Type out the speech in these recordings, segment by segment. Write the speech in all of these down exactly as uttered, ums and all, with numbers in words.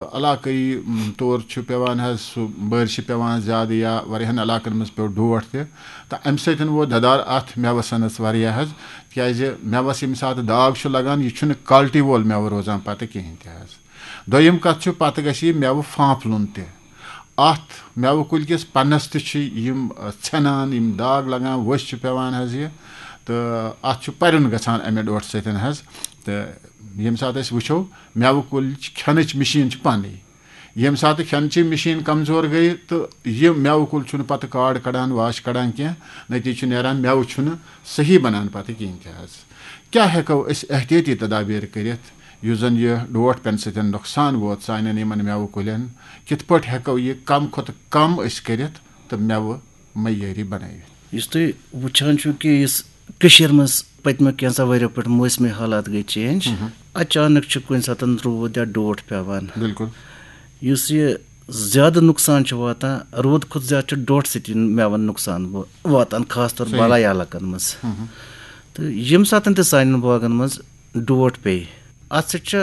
علاقٲیی، م، طور چھُ پٮ۪وان حظ سُہ بٲرشہِ پٮ۪وان زیادٕ یا واریاہَن علاقَن منٛز پیوٚو ڈوٹھ تہِ، تہٕ اَمہِ سۭتۍ ووت دَدار اَتھ مٮ۪وَس سَنَس واریاہ حظ، تِکیٛازِ مٮ۪وَس ییٚمہِ ساتہٕ داغ چھُ لَگان، یہِ چھُنہٕ quality وول مٮ۪وٕ روزان پَتہٕ کِہیٖنۍ تہِ حظ۔ دوٚیِم کَتھ چھُ، پَتہٕ گژھِ یہِ مٮ۪وٕ پھانٛپلُن تہِ۔ اَتھ مٮ۪وٕ کُلۍ کِس پَنَس تہِ چھِ یِم، آ، ژھٮ۪نان، یِم داغ لَگان، ؤسۍ چھِ پٮ۪وان حظ یہِ، تہٕ اَتھ چھُ پَرُن گژھان اَمہِ ڈوٹھٕ سۭتۍ حظ۔ تہٕ ییٚمہِ ساتہٕ أسۍ وٕچھو، مٮ۪وٕ کُلۍ چھِ، کھٮ۪نٕچ مِشیٖن چھِ پَنٕنٕے۔ ییٚمہِ ساتہٕ کھٮ۪نچی مِشیٖن کمزور گٔیہِ تہٕ یہِ مٮ۪وٕ کُل چھُنہٕ پتہٕ کاڈ کڑان، واش کڑان کینٛہہ، نتیجہٕ چھُ نیران مٮ۪وٕ چھُنہٕ صحیح بنان پتہٕ کِہیٖنۍ تہِ حظ۔ کیٛاہ ہٮ۪کو أسۍ احتیاطی تدابیر کٔرِتھ یُس زن یہِ ڈوٹھ پٮ۪نہٕ سۭتۍ نۄقصان ووت سانٮ۪ن یِمن مٮ۪وٕ کُلٮ۪ن؟ کِتھ پٲٹھۍ ہٮ۪کو یہِ کم کھۄتہٕ کم أسۍ کٔرِتھ تہٕ مٮ۪وٕ معیٲری بنٲوِتھ؟ یُس تُہۍ وٕچھان چھِو کہِ یُس کٔشیٖرِ منٛز پٔتمیو کینٛژھا ؤریو پٮ۪ٹھ موسمی حالات گٔے چینج، اچانک چھُ کُنہِ ساتہٕ روٗد یا ڈوٹھ پٮ۪وان۔ بِلکُل۔ یُس یہِ زیادٕ نۄقصان چھُ واتان، روٗد کھۄتہٕ زیادٕ چھُ ڈوٹھ سۭتۍ یِم مٮ۪وَن نۄقصان و-، واتان، خاص طور صحیح۔ بالٲیی علاقن منٛز۔ تہٕ ییٚمہِ ساتہٕ تہِ سانٮ۪ن باغن منٛز ڈوٹھ پیٚیہِ، اَتھ سۭتۍ چھُ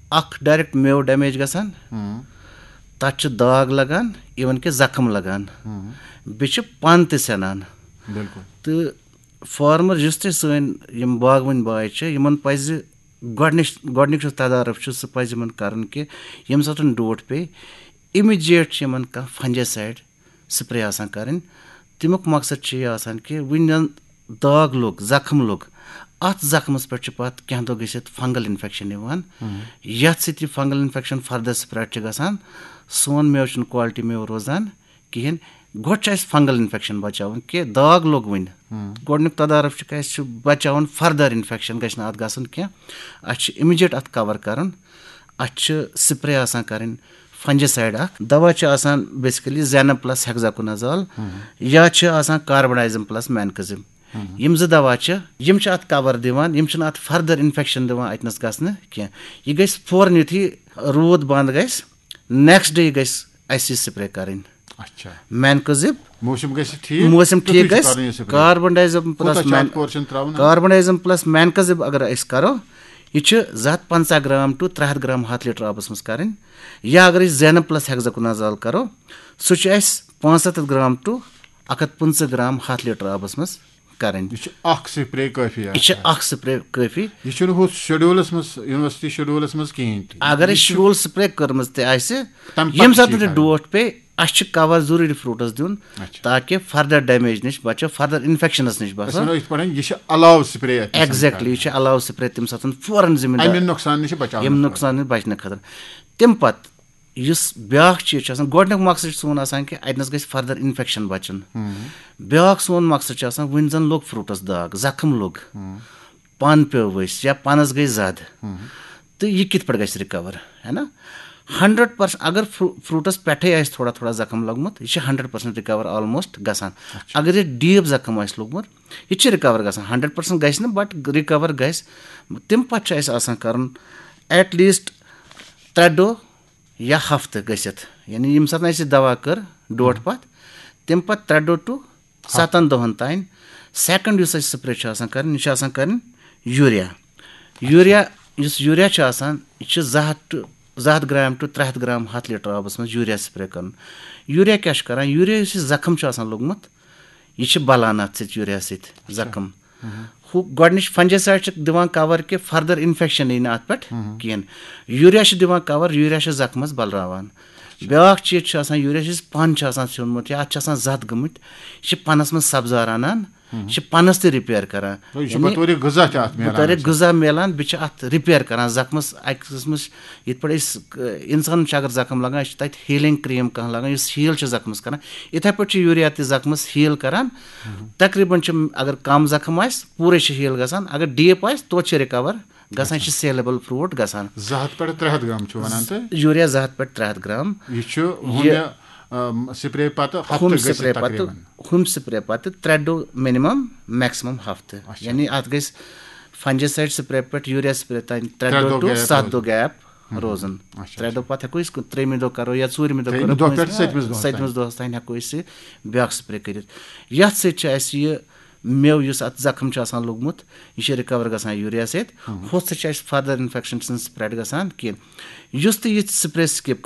اکھ ڈایریکٹ مٮ۪وٕ ڈیمیج گژھان، تَتھ چھُ داغ لگان، اِوٕن کہِ زخم لگان، بیٚیہِ چھُ پَن تہِ سٮ۪نان۔ بِلکُل۔ تہٕ فارمر، یُس تہِ سٲنۍ یِم باغوٲنۍ باے چھِ، یِمن پَزِ گۄڈٕنِچ، گۄڈٕنیُک یُس تدارُک چھُ، سُہ پَزِ یِمن کَرُن کہِ ییٚمہِ ساتہٕ ڈوٹھ پیٚیہِ، اِمِجیٹ چھِ یِمن کانٛہہ فنجیسایڈ سپرے آسان کَرٕنۍ۔ تَمیُک مقصد چھُ یہِ آسان کہِ وٕنۍ زَن داغ لوٚگ، زخم لوٚگ، اَتھ زخمَس پٮ۪ٹھ چھُ پَتہٕ کینٛہہ دۄہ گٔژھِتھ فنگل انفیکشن یِوان، یَتھ سۭتۍ یہِ فنگل انفیکشن فردر سپریڈ چھُ گژھان، سون مٮ۪وٕ چھُنہٕ کوالٹی مٮ۪وٕ روزان کِہیٖنۍ۔ گۄڈٕ چھُ اَسہِ فنگل انفیکشن بچاوُن کہِ داغ لوٚگ وٕنہِ۔ گۄڈٕنیُک تدارُک چھُ کہِ اَسہِ چھُ بچاوُن فردر انفیکشن گژھِ نہٕ اَتھ گژھُن کینٛہہ۔ اَسہِ چھُ اِمِجیٹ اَتھ کور کَرُن۔ اَسہِ چھُ سپرے آسان کَرٕنۍ، فنجیسایڈ اَکھ۔ دوا چھُ آسان بیسکلی زینب پلس ہیگزاکونازال، یا چھُ آسان کاربنڈازم پلس مینکزم۔ یِم زٕ دوا چھِ، یِم چھِ اَتھ کور دِوان، یِم چھِنہٕ اَتھ فردر انفیکشن دِوان اَتہِ نَس گژھنہٕ کینٛہہ۔ یہِ گژھِ فوراً یُتھُے روٗد بنٛد گژھِ، نیکسٹ ڈے گژھِ اَسہِ یہِ سپرے کَرٕنۍ۔ اچھا۔ مینکزب۔ موسم گژھِ ٹھیٖک، موسم تیُتھُے ٹھیٖک چھُ گژھِ۔ کَرُن یہِ سپرے۔ کاربنڈازم پلس کوٗتاہ چھُ مین-، اَتھ پورشن ترٛاوُن؟ کاربنڈازم پلس مینکزب اگر أسۍ کرو، یہِ چھُ زٕ ہَتھ پنٛژاہ گرام ٹو ترٛےٚ ہَتھ گرام ہَتھ لیٹر آبس منٛز کَرٕنۍ۔ یا اگر أسۍ زینب پلس ہیگزاکونازال کرو، سُہ چھُ اَسہِ پانٛژھ ہَتھ گرام ٹو اَکھ ہَتھ پٕنٛژٕہ گرام ہَتھ لیٹر آبس منٛز کَرٕنۍ۔ یہِ چھُ اکھ سپرے کٲفی یہِ چھُ آسان۔ اکھ سپرے کٲفی۔ یہِ چھُنہٕ ہُتھ شیڈولس منٛز، یونیورسٹی شیڈولس منٛز کِہیٖنۍ تہِ۔ اگر یہِ اَسہِ چھُ شیڈول سپرے کٔرمٕژ تہِ آسہِ، تَمہِ پتہٕ ییٚمہِ چھِ ساتہٕ یہِ تہِ کَرٕنۍ۔ ڈوٹھ پیٚیہِ، اَسہِ چھُ کور ضروٗری فروٗٹس دیُن، اچھا۔ تاکہِ فردر ڈیمیج نِش بچو، فردر انفیکشنس نِش أسۍ بچو۔ وَنو یِتھ پٲٹھۍ، یہِ چھُ علاوٕ سپرے اَتہِ آسان ایگزیکٹلی، یہِ کَرٕنۍ۔ چھُ علاوٕ سپرے تَمہِ ساتہٕ فوراً ذمہٕ دار۔ اَمہِ نۄقصان نِش چھِ بچاونہٕ یِم خٲطرٕ۔ نۄقصان نِش بچنہٕ خٲطرٕ۔ تَمہِ پتہٕ یُس بیٛاکھ چیٖز چھُ آسان، گۄڈٕنیُک مقصد چھُ سون آسان کہِ اَتہِ نَس گژھِ فردر انفیکشن بچُن۔ بیٛاکھ سون مقصد چھُ آسان، وٕنہِ زَن لوٚگ فروٗٹس داغ، زخم لوٚگ، پَن پیوٚو ؤسۍ یا پَنَس گٔے زَد، تہٕ یہِ کِتھ پٲٹھۍ گژھِ رِکور، ہے نا؟ ہنڈرڈ پٔرسنٹ اگر فرو-، فروٗٹس پٮ۪ٹھَے آسہِ تھوڑا تھوڑا زخم لوٚگمُت، یہِ چھُ ہنڈرڈ پٔرسنٹ رِکور آلموسٹ گژھان۔ اگر یہِ ڈیٖپ زخم آسہِ لوٚگمُت، یہِ تہِ چھُ رِکور گژھان، ہنڈرڈ پٔرسنٹ گژھِ نہٕ، بٹ رِکور گژھِ۔ تَمہِ پتہٕ چھُ اَسہِ آسان کَرُن ایٹ لیٖسٹ ترٛےٚ دۄہ یا ہفتہٕ گٔژھِتھ، یعنی ییٚمہِ ساتہٕ اَسہِ یہِ دوا کٔر ڈوٹھ پتھ، تَمہِ پتہٕ ترٛےٚ دۄہ ٹُو ستن دۄہن تام۔ سیکنڈ یُس اَسہِ سپرے چھُ آسان کَرٕنۍ، یہِ چھِ آسان کَرٕنۍ یوٗریا۔ یوٗریا، یُس یوٗریا چھُ آسان، یہِ چھُ زٕ ہَتھ ٹُو، زٕ ہَتھ گرام ٹُو ترٛےٚ ہَتھ گرام ہَتھ لیٹر آبس منٛز یوٗریا سپرے کَرُن۔ یوٗریا کیٛاہ چھُ کَران؟ یوٗریا یُس یہِ زخم چھُ آسان لوٚگمُت، یہِ چھِ بَلان اَتھ سۭتۍ، یوٗریا سۭتۍ زخم۔ ہُہ گۄڈٕنِچ فنجیسایڈ چھِ دِوان کور کہِ فردر انفیکشن یی نہٕ اَتھ پٮ۪ٹھ کِہیٖنۍ۔ یوٗریا چھِ دِوان کور، یوٗریا چھِ زخمس بلراوان۔ بیٛاکھ چیٖز چھُ آسان، یوٗریا چھُ یُس پن چھُ آسان سیوٚنمُت یا اَتھ چھِ آسان زَد گٔمٕتۍ، یہِ چھِ پنس منٛز سبزار اَنان، یہِ چھِ پنس تہِ رِپیر کران۔ یہِ چھُ یعنی بطورِ غذا تہِ اَتھ میلان بطورِ اَسہِ۔ غذا میلان، بیٚیہِ چھِ اَتھ رِپیر کران زخمس۔ اَکہِ قٕسمٕچ یِتھ پٲٹھۍ أسۍ، ٲں، اِنسانَس چھِ اگر زخم لگان، أسۍ چھِ تَتہِ ہیٖلِنٛگ کرٛیٖم کانٛہہ لگان، یُس ہیٖل چھِ زخمَس کران۔ یِتھَے پٲٹھۍ چھِ یوٗریا تہِ زخمَس ہیٖل کران۔ تقریٖباً چھِ، اگر کم زخم آسہِ، پوٗرے چھِ ہیٖل گژھان، اگر ڈیٖپ آسہِ، توتہِ چھِ رِکور گژھان، یہِ چھِ سیلیبل فروٗٹ گژھان۔ زٕ ہَتھ پٮ۪ٹھ ترٛےٚ ہَتھ گرام چھُ وَنان تُہۍ؟ یوٗریا زٕ ہَتھ پٮ۪ٹھ ترٛےٚ ہَتھ گرام۔ یہِ چھُ یہِ ہُمہِ، ٲم، سپرے پتہٕ ہفتہٕ ہُم گٔژھِتھ سپرے پتہٕ، تقریٖباً۔ ہُم سپرے پتہٕ ترٛےٚ دۄہ مِنِمم، میکسِمم ہفتہٕ۔ اچھا۔ یعنی اَتھ گژھِ فنجیسایڈ سپرے پٮ۪ٹھ یوٗریا سپرے تام ترٛےٚ ترٛےٚ دۄہ دۄہ ٹُو gap ستھ روزُن۔ دۄہ گیپ۔ روزُن۔ اچھا، ترٛےٚ اچھا۔ دۄہ پتہٕ ہٮ۪کو أسۍ کُنہِ ترٛیٚیِمہِ دۄہ کرو یا ژوٗرمہِ دۄہ ترٛیٚیِمہِ کرو، دۄہ پٮ۪ٹھ پٲنٛژمہِ، سٔتمِس دۄہَس تام۔ سٔتمِس دۄہَس تام ہٮ۪کو أسۍ یہِ بیٛاکھ سپرے کٔرِتھ۔ یَتھ سۭتۍ چھِ اَسہِ یہِ میوٕ یُس اَتھ زخم چھُ آسان لوٚگمُت، یہِ چھُ رِکور گژھان یوٗریا سۭتۍ۔ ہُتھ سۭتۍ چھُ اَسہِ فردر اِنفیکشن چھُنہٕ سپریڈ گژھان کینٛہہ۔ یُس تہِ یہِ سپرے سکپ